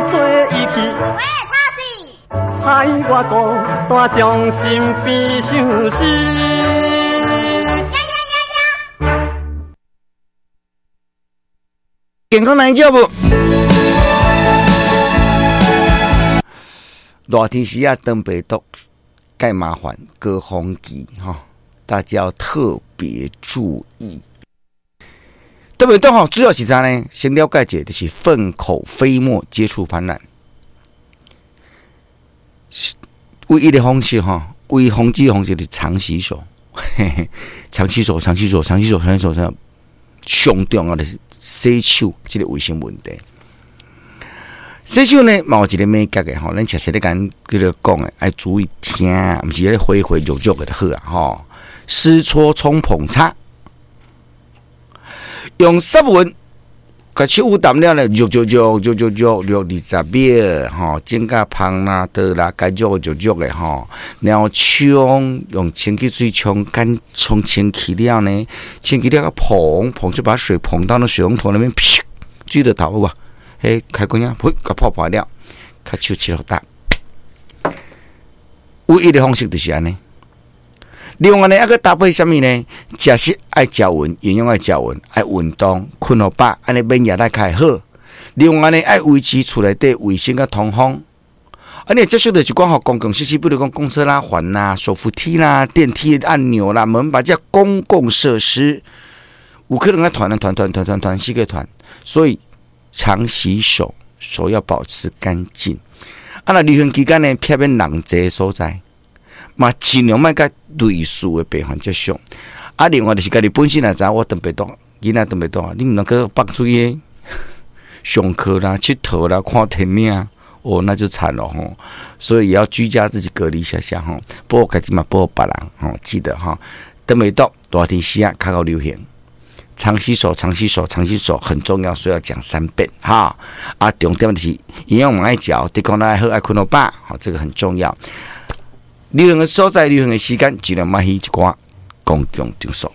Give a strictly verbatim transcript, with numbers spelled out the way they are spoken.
做伊去。害我孤單傷心變相思。健康難照無？熱天時啊，腸病毒蓋麻煩，高峰期吼，大家要特別注意。腸病毒吼，主要是啥呢？先了解一下，就是糞口飛沫接觸傳染。唯一的方式吼，唯一防止方式就是常洗手，嘿嘿，常洗手，常洗手，常洗手，常洗手，常。上重要的是洗手，這個衛生問題。洗手呢，嘛有一個秘訣的吼，咱常常咧共叫做講的，愛注意聽，毋是咧揮揮揉揉的就好啊吼。濕搓沖捧擦，用濕勻，共手捂澹了咧，揉揉揉揉揉揉揉二十秒吼，整甲芳啦、倒啦，該揉就揉的吼，然後沖用清氣水沖乾，沖清氣了呢，清氣了個捧捧就把水捧到那水龍頭那邊，噗，水就頭有無？彼開關啊，噗，共泡破了，較手拭予焦。唯一的方式就是按呢。另外呢，猶閣搭配啥物呢？食食愛食勻，營養愛食勻，愛運動，睏予飽，按呢免疫力較會好。另外呢，愛維持厝內底衛生佮通風。啊，你接觸著一寡吼公共設施，比如講公車拉環啦、手扶梯啦、電梯按鈕啦、門把，這公共設施，有可能愛傳傳傳傳傳傳四個傳，所以常洗手，手要保持乾淨。啊，若流行期間呢，避免人濟所在。嘛，盡量莫佮類似的病患接觸。啊，另外就是家己本身也知影我腸病毒，囡仔腸病毒，你毋通閣放出去上課啦、𨑨迌啦、看電影，哦，那就慘了吼。所以也要居家自己隔離一下下吼，保護家己嘛，保護別人吼，記得吼。腸病毒熱天時啊，較夠流行，常洗手、常洗手、常洗手很重要，所以要講三遍哈。啊，重點就是營養嘛愛食，抵抗力愛好，愛睏予飽，好，這個很重要。流行的所在，流行的時間，盡量莫去一寡公共場所。